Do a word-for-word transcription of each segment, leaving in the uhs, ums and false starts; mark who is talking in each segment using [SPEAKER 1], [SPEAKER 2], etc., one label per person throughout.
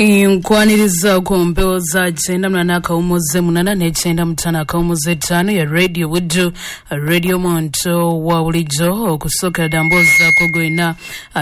[SPEAKER 1] Nkwaniriza ku mpewo za kyenda munana akawumuze munana n'ekyenda mutaano akawumuze ttaano ya Radio Buddu, Radio Muntu wa bulijjo. Okusookera ddala mboozaako gwena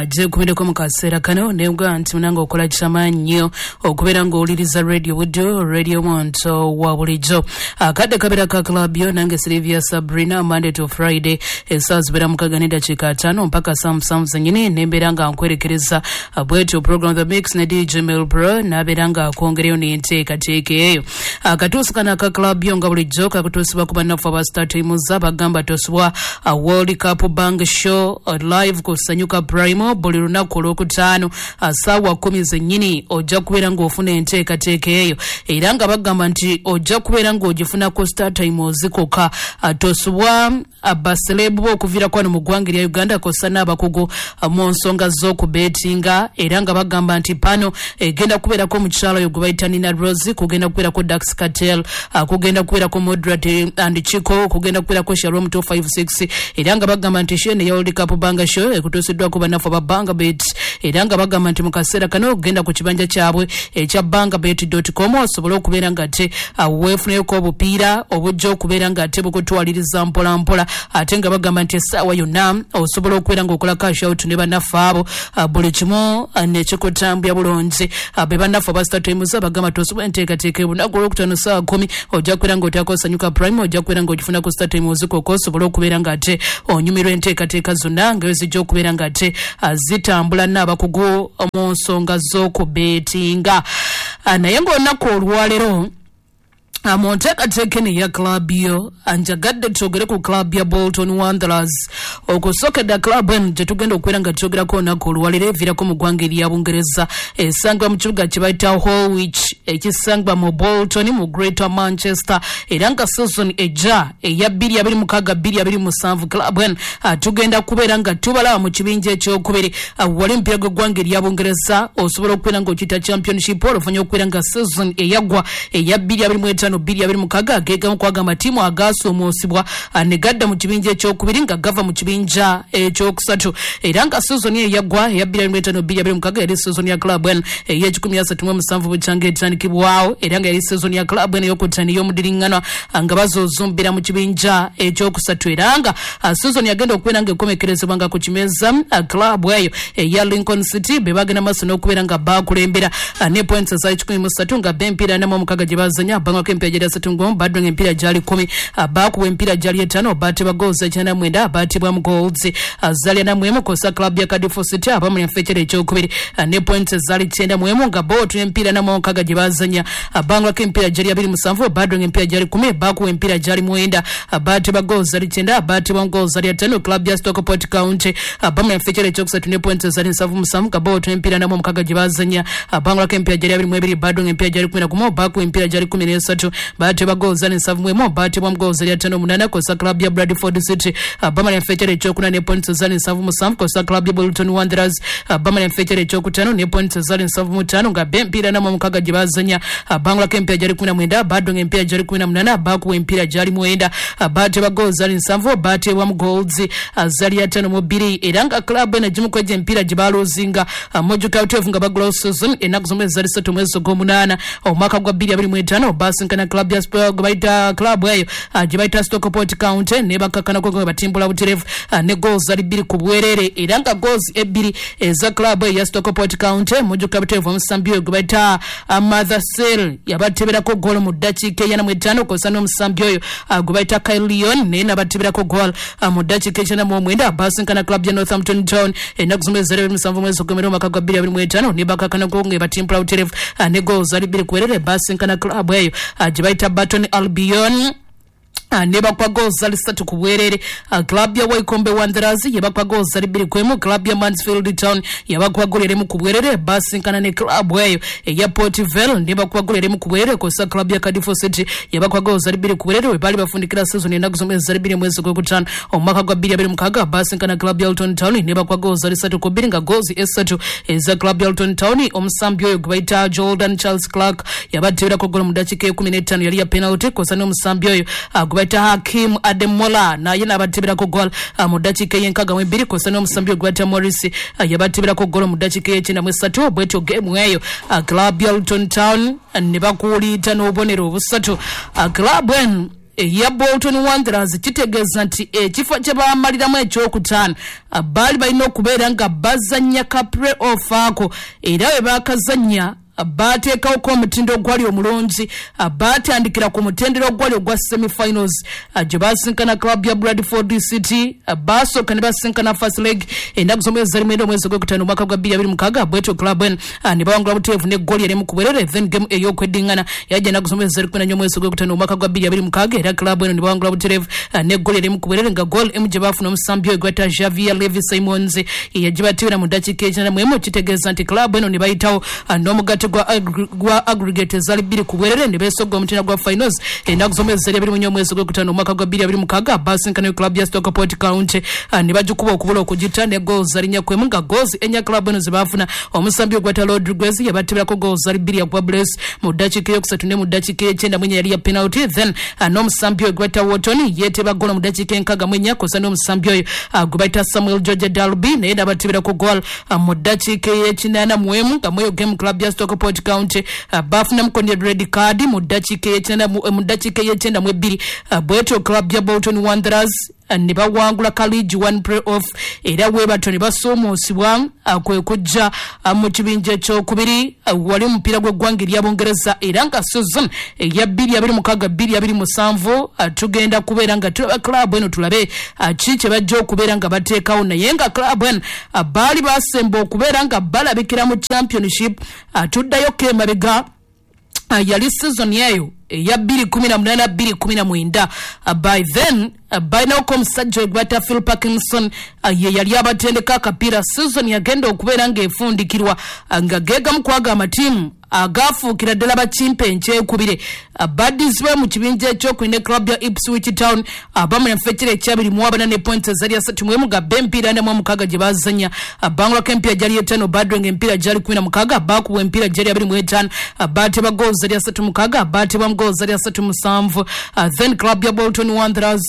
[SPEAKER 1] gyekumiddeko mu kaseera kano, nebwa nti munange okola kyamaanyi nnyo okubeera ng'owuliriza Radio Buddu, Radio Muntu wa bulijjo. Akadde kabeera ka club yo, nange Sylvia Sabrina, Monday to Friday essaawa zibeera mukaaga n'eddakiika ataano mpaka saa musanvu zennyini, nembeera nga nkwerekereza bwetyo program The Mix ne D J Mel Pro, nabeera nga akwongereyo n'enteekateeka eyo. Akatuusi kano aka club yo nga bulijjo kakutuusibwa ku bannaffe aba Star Times, bagamba tosubwa World Cup Bank Show live ku Sanyuka Prime buli lunaku olwokutaano ssaawa kkumi zennyini. Ojja kubeera ng'ofuna enteekateeka eyo, era nga bagamba nti ojja kubeera ng'ogifuna ku Star Times kokka. Tosubwa abaselebu bo okuviirako wano mu ggwanga erya Uganda kw'ossa n'abakugu mu nsonga z'okubeetinga, era nga bagamba nti pano egenda kubeerako omukyala oyo gwe bayita Nina Rose, kugenda kubeerako Dax Cartel, kugenda kubeerako Moderate and Chico, kugenda kubeerako Shalom two five six, era nga bagamba nti show eno ya World Cup Banga Show ekutuusiddwako bannaffe aba Banga Bet, era nga bagamba nti mu kaseera kano ogenda ku kibanja kyabwe ekya bangabet dot com osobole okubeera nga ate weefuneyoko obupiira obujja okubeera nga ate bukutwaliriza mpola mpola, ate nga bagamba nti essaawa yonna osobola okubeera ng'okola cash out ne bannaffe abo, buli kimu nekikutambya bulungi. Be bannaffe aba Star Times bagamba tosobola enteekateeka olunaku olwokutaano ssaawa kkumi ojja kubeera ng'oteekako Sanyuka Prime, ojja kubeera ng'ogifuna ku Star Times kokka osobole okubeera ng'ate onyumirwa enteekateeka zonna nga zijja okubeera ng'ate zitambula n'abakugu mu nsonga z'okubeetinga. Naye ng'olunaku olwaleero mu nteekateeka eno eya club yo, njagadde twogere ku club ya Bolton Wanderers. Okusookera club eno gye tugenda okubeera nga twogerako olunaku olwaleero eviirako mu ggwanga erya Bungereza, esangibwa mu kibuga kye bayita Horwich ekisangibwa mu Bolton mu Greater Manchester, era nga season ejja eya bbiri abiri mukaaga bbiri abiri musanvu club eno tugenda kubeera nga tubalaba mu kibinja ekyokubiri. Wali omupiira gw'eggwanga erya Bungereza osobola okubeera ng'okiyita Championship, oluvannyuma okubeera nga season eyaggwa eya bbiri abiri mu etaano bbiri abiri mukaaga gegamu kwaga amatiimu agaasuumuusibwa ne gadda mu kibinja ekyokubiri nga gava mu kibinja ekyokusatu, era nga season eyo eyaggwa eya bbiri abiri mu etaano bbiri abiri mukaaga yali season ya club eno ey'ekikumi asatu mu musanvu bukyanga etandikibwawo, era nga yali season ya club eno ey'okutaano ey'omudiriŋŋanwa nga bazoozumbira mu kibinja ekyokusatu, era nga season yagenda okubeera nga ekomekerezebwa nga ku kimeza club eyo eya Lincoln City be bagenda maaso n'okubeera nga bakulembera ne points za ekikumi mu ssatu nga b'empiira ana mu omukaaga gye bazanya bangako empiira gyali asatu mu gumu, baddonga empiira gyali kkumi, baakuba empiira gyali etaano, baatebwa goals ekyenda mu mwenda, baatebwamu goals zaali ana mu emu kw'ossa club ya Cardiff City abamu enfekyere ekyokubiri ne points zaali kyenda mu emu nga bo empiira ana mu omukaaga gye bazanya bangako empiira gyali abiri musanvu, baddonga empiira gyali kkumi, baakuba empiira gyali mwenda, baatebwa goals zaali kyenda, baatebwamu goals zaali ataano. Club ya Stockport County abamu enfekyere ekyokusatu ne points zaali nsanvu musanvu nga bo empiira ana mu omukaaga gye bazanya bangako empiira gyali abiri mu ebiri, baddonga empiira gyali kkumi na gumu, baakuba empiira gyali kkumi n'esatu, baatebwa goals zaali nsanvu mu emu, baatebwamu goals zaali ataano munaana kw'ossa club ya Bradford City bamala enfekyere ekyokuna ne points zaali nsanvu musanvu kw'ossa club ya Bolton Wanderers bamala enfekyere ekyokutaano ne points zaali nsanvu mu ttaano nga b'empiira ana mu omukaaga gye bazanya bangulako empiira gyali kkumi na mwenda, baddonga empiira gyali kkumi na munaana, baakuba empiira gyali mwenda, baatebwa goals zaali nsanvu, baatebwamu goals zaali ataano mu bbiri, era nga club eno egimu ku egyo emipiira gye baaluuzinga mojjuka buteevu nga bagulawo season ennaku z'omwezi zaali ssatu mwezi ogw'omunaana omwaka gwa bbiri abiri mu etaano baasinkana club ya gwe bayita club eyo gye bayita Stockport County ne bakakkanako nga batimbula butereevu ne goals zaali bbiri ku bwereere, era nga goals ebbiri eza club eyo ya Stockport County mujjuka butereevu omusambi oyo gwe bayita Mother Sale yabateberako goal mu ddakiika eyana mu etaano kw'ossa n'omusambi oyo gwe bayita Kyle Leon naye n'abateberako goal mu ddakiika ekyenda mu omwenda. Baasinkana club ya Northampton Town ennaku z'omwezi zaali abiri musanvu mwezi ogw'emwenda omwaka gwa bbiri abiri mu etaano ne bakakkanako nga batimbula butereevu ne goals zaali bbiri ku bwereere. Baasinkana club eyo gye bayita Burton Albion ne bakwa goals zaali ssatu ku bwereere. Club ya Wycombe Wanderers yabakwa goals zaali bbiri ku emu, club ya Mansfield Town yabakwa goal erimu ku bwereere. Basinkana ne club eyo eya Port Vale ne bakwa goal erimu ku bwereere kw'ossa club ya Cardiff City yabakwa goals zaali bbiri ku bwereere we baali bafundikira season ennaku z'omwezi zaali bbiri mwezi ogwokutaano omwaka gwa bbiri abiri mukaaga. Basinkana club ya Luton Town ne bakwa goals zaali ssatu ku bbiri nga goals essatu eza club ya Luton Town omusambi oyo gwe bayita Jordan Charles Clark yabateberako goal mu ddakiika ekkumi n'ettaano yali ya penalty kw'ossa n'omusambi oyo gwe gwe bayita Hakim Ademola naye n'abateberako goal mu ddakiika ey'enkaaga mu ebbiri, kw'ossa n'omusambi gwe bayita Morris yabateberako goal mu ddakiika ey'ekyenda mu esatu. Bwetyo game eyo club ya Luton Town ne bakuuliita n'obubonero obusatu. Club eno eya Bolton Wanderers kitegeeza nti ekifo kye bamaliramu ekyokutaano baali balina okubeera nga bazannya ka play off ako, era bwe baakazannya bateekawoko omutindo ogwali omulungi. Batandikira ku mutendera ogwali ogwa semifinals gye basinkana club ya Bradford City. Basooka ne basinkana first leg ennaku z'omwezi zali mwenda omwezi ogwokutaano omwaka gwa bbiri abiri mukaaga. Bwetyo club eno ne bawangula buteevu n'eggoli erimu ku bwerere. Then game ey'okweddiŋŋana yajja ennaku z'omwezi zali kumi na nnya omwezi ogwokutaano omwaka gwa bbiri abiri mukaaga, era club eno ne bawangula butereevu n'eggoli erimu ku bwerere, nga goal emu gye baafuna omusambi oyo gwata Xavier Levi Simons yagibateebera mu ddakiika ekyenda mu emu. Kitegeeza nti club eno ne bayitawo n'omugatte gwa gwa aggregate ezali bbiri ku bwerere ne beesogga omutendera gwa finals ennaku z'omwezi zali abiri mu nnya omwezi ogwokutaano omwaka gwa bbiri abiri mukaaga. Basinkanayo club ya Stockport County ne bagikuba okubula okugita ne goals zali nnya ku emu, nga goals ennya club eno ze baafuna omusambi ogwata Rodriguez yabateberako goals zali bbiri yakuba brace mu ddakiika eyokusatu ne mu ddakiika ey'ekyenda mu ennya yali ya penalty. Then n'omusambi oyo gwata Wotton yeeteba goal mu ddakiika enkaaga mu ennya, kw'ossa n'omusambi oyo gwe bayita Samuel George Dalby naye n'abateberako goal mu ddakiika ey'ekinaana mu emu, nga mweyo game club ya Stockport County bafunamuko ne red card mu ddakiika ey'ekyenda mu ddakiika ey'ekyenda mu ebbiri. Bwetyo club ya Bolton Wanderers ne bawangula ka League One play off, era webatyo ne basuumuusibwa kwe kujja mu kibinja ekyokubiri wali omupiira gw'eggwanga erya Bungereza. Era nga season eya bbiri abiri mukaaga bbiri abiri musanvu tugenda kubeera nga tulaba club eno, tulabe ki kye bajja okubeera nga bateekawo. Naye nga club eno baali basemba okubeera nga balabikira mu Championship, tuddayoko emabega, yali season eyo eya bbiri kumi na munaana bbiri kumi na mwenda. By then balinawoko omusajja gwebata Phil Parkinson, ye yali abatendeka akapiira. Season yagenda okubeera ng'efundikirwa nga geegamu kwaga amatiimu agafuukira ddala bakimpe enkyekubire baddizibwa mu kibinja ekyokubiri ne club ya Ipswich Town abamu enfekera ekyabiri mu abana ne points ezali asatu mu emu, gabba empiira ana mu omukaaga gye bazannya, bangulako empiira gyali etaano, badrenga empiira gyali kumi na mukaaga, baakubwa empiira gyali abiri mu etaano, baateba goals zali asatu mukaaga, baatebwamu goals zali asatu musanvu. Then club ya Bolton Wanderers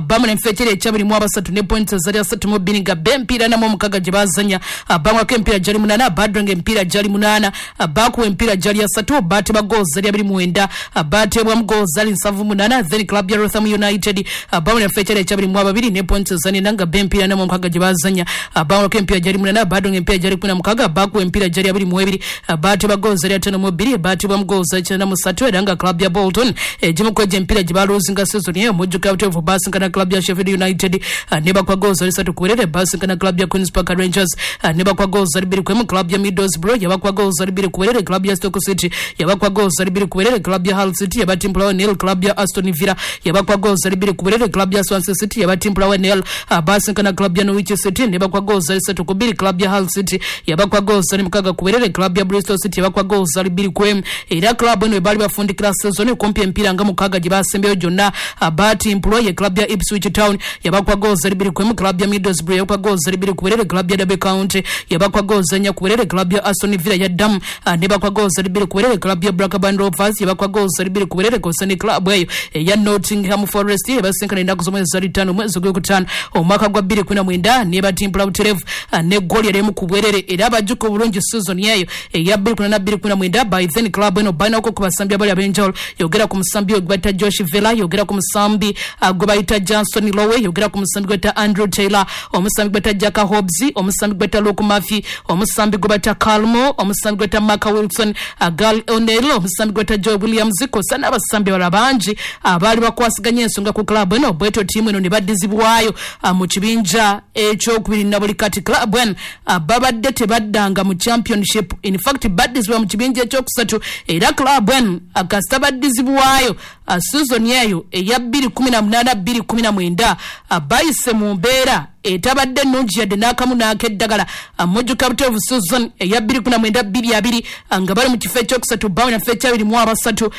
[SPEAKER 1] bamu nenfekera ekyabiri mu abasatu ne points ezali asatu mu bbiri, gabba empiira ana mu omukaaga gye bazannya, bangulako empiira gyali munaana, badrenga empiira gyali munaana, baakubwa empiira gyali asatu, baateba goals zali abiri mwenda, baatebwamu goals zali nsanvu munaana. Then club ya Rotherham United bamu nenfekera ekyabiri mu ababiri ne points ezali ena, nga empiira ana mu omukaaga gye bazannya, bangulako empiira gyali munaana, badrenga empiira gyali kumi na mukaaga, baakubwa empiira gyali abiri mu ebiri, baateba goals zali ataano mu bbiri, baatebwamu goals zali kyenda mu ssatu. Era nga club ya Bolton egimu ku egyo emipiira gye baluuzinga season eyo, mujjuka buteevu basinkana club ya Sheffield United ne bakwa goals zali ssatu ku bwerere, basinkana club ya Queens Park Rangers ne bakwa goals zali bbiri ku emu, club ya Middlesbrough yabakwa goals zali bbiri ku bwerere, club ya Stoke City yabakwa goals zali bbiri ku bwerere, club ya Hull City yabatimpulawo nil, club ya Aston Villa yabakwa goals zali bbiri ku bwerere, club ya Swansea City yabatimpulawo nil, basinkana club ya Norwich City ne bakwa goals zali ssatu ku bbiri, club ya Hull City yabakwa goals zali mukaaga ku bwerere, club ya Bristol City yabakwa goals zali bbiri ku emu. Era club eno baali bafundikira season kumpi empiira nga mukaaga gye basembyeyo gyonna batimpulwa. Ye club ya Ipswich Town yabakwa goals zali bbiri ku emu, club ya Middlesbrough yabakwa goals zali bbiri ku bwerere, club ya Derby County yabakwa goals ennya ku bwerere, club ya Aston Villa yaddamu ne bakwa goals zali bbiri ku bwerere, club ya Blackburn Rovers yabakwa goals zali bbiri ku bwerere, kw'ossa ne club eyo eya Nottingham Forest ebasinkana ennaku z'omwezi zali ttaano omwezi ogwokutaano omwaka gwa bbiri kumi na mwenda ne batimpula butereevu ne ggooli erimu ku bwerere. Era abajjuka obulungi season eyo eya bbiri kumi na bbiri kumi na mwenda, by then club eno balinako ku basambi abali ab'enjawulo. Yogera ku musambi oyo gwe bayita Josh Vela, yogera ku musambi gwe bayita Johnson Lowe, yogera ku musambi gwe bayita Andrew Taylor, omusambi gwe bayita Jack Hobbs, omusambi gwe bayita Luke Murphy, omusambi gwe bayita Calmo, omusambi gwe bayita Mark Wilson, Gal O'Neill, omusambi gwe bayita Joe Williams, kw'ossa n'abasambi abalala bangi abaali bakwasaganya ensonga ku club eno. Bwetyo ttiimu eno ne baddizibwayo mu kibinja ekyokubiri. Na buli kati club eno babadde tebaddanga mu Championship, in fact baddizibwa mu kibinja ekyokusatu. Era club eno kasita baddizibwayo season eyo eya bbiri kumi na munaana bbiri kumi na mwenda, bayise mu mbeera etabadde ennungi yadde n'akamu n'akeddagala. Mujjuka buteevu season eya bbiri kumi na mwenda bbiri abiri nga bali mu kifo ekyokusatu, bawe na kifo ekyabiri mu abasatu,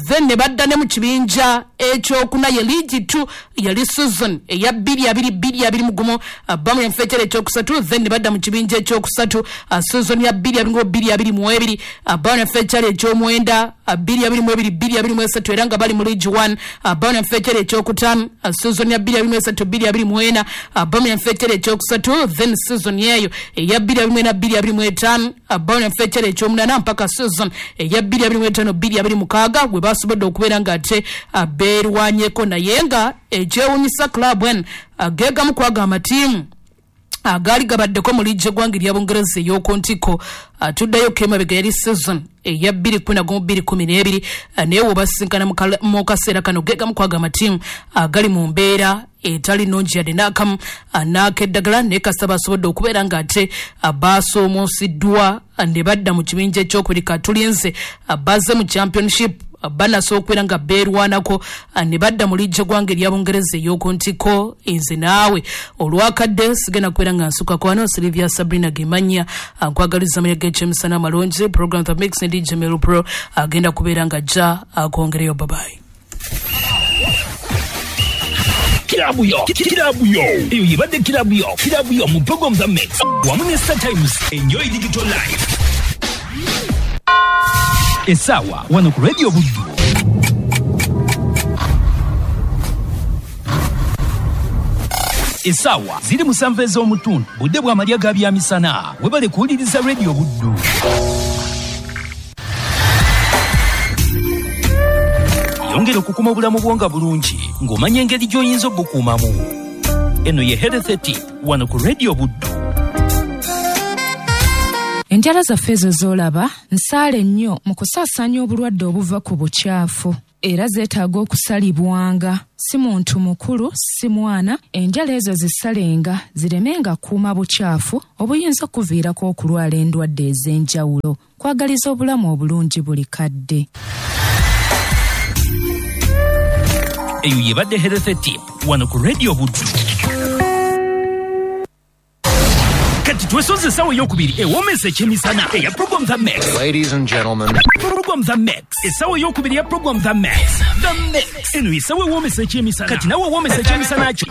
[SPEAKER 1] then ne badda ne mu kibinja ekyokuna ye League Two, yali season eya bbiri abiri bbiri abiri mu gumu, bamu kifo ekyali ekyokusatu, then ne badda mu kibinja ekyokusatu season ya bbiri abiri mu bbiri abiri mu ebiri, bamu kifo ekyali ekyomwenda bbiri abiri mu ebiri bbiri abiri mu esatu, era nga bali mu mu League One, Birmingham fetera ekyokutaano season ya bbiri abiri mu esatu bbiri abiri mu ena, Birmingham fetera ekyokusatu, then season yeeyo eya bbiri abiri mu ena bbiri abiri mu etaano Birmingham fetera ekyomunaana mpaka season eya bbiri abiri mu etaano bbiri abiri mukaaga gwe basobodde okubeera ng'ate beerwanyeko. Naye nga ekyewuunyisa club eno geegamu kwaga amatiimu agaali gabaddeko mu liigi eggwanga erya Bungereza ey'oku ntikko. Tuddayo kemabega yali season eya bbiri kumi na gumu bbiri kumi n'ebiri, naye wobasinkana mu kaseera kano geegamu kwaga amatiimu agali mu mbeera etali nnungi yadde n'akamu n'akeddagala, naye kasita basobodde okubeera ng'ate baasoomoosiddwa ne badda mu kibinja ekyokubiri. Katulinze bazze mu championship banasobola okubeera nga beerwanako ne badda mu liigi eggwanga erya Bungereza ey'oku ntikko. Nze naawe olwakadde sigenda kubeera nga nsukako wano. Silivia Sabrina Gemanya nkwagaliza amalya g'ekyemisana amalungi. Program The Mix ne D J Melo Pro agenda kubeera nga ajja akwongereyo. Babayi.
[SPEAKER 2] Kilabu yo, kilabu yo, eyo yibadde kilabu yo, kilabu yo mu program The Mix wamu ne Star Times. Enjoy digital life. Esawa wano ku Radio Buddu. Esawa ziri musanvu ez'omutundu, budde bw'amalya ga byamisana. Webale kuwuliriza Radio Buddu. Yongera okukuma obulamu bwo nga bulungi ng'omanya engeri gy'oyinza obukuumamu. Eno ye Health Tip wano ku Radio Buddu.
[SPEAKER 3] Enjala zaffe ezo z'olaba nsaale nnyo mu kusaasaanya obulwadde obuva ku bukyafu, era zeetaaga okusalibwanga. Si muntu mukulu, si mwana, enjala ezo zisalenga ziremenga kuuma bukyafu obuyinza okuviirako okulwala endwadde ez'enjawulo. Kwagaliza obulamu obulungi buli kadde.
[SPEAKER 2] Eyo yebadde Health Tip wano ku Radio Buddu. Kati twesoze essaawa eyokubiri ewoomesa ekyemisana eya Program The Mix.
[SPEAKER 4] Ladies and gentlemen,
[SPEAKER 2] Program The Mix. Essaawa eyokubiri ya Program The Mix. The Mix. Eno essaawa ewoomesa ekyemisana. Kati nawe owoomesa ekyemisana kyo.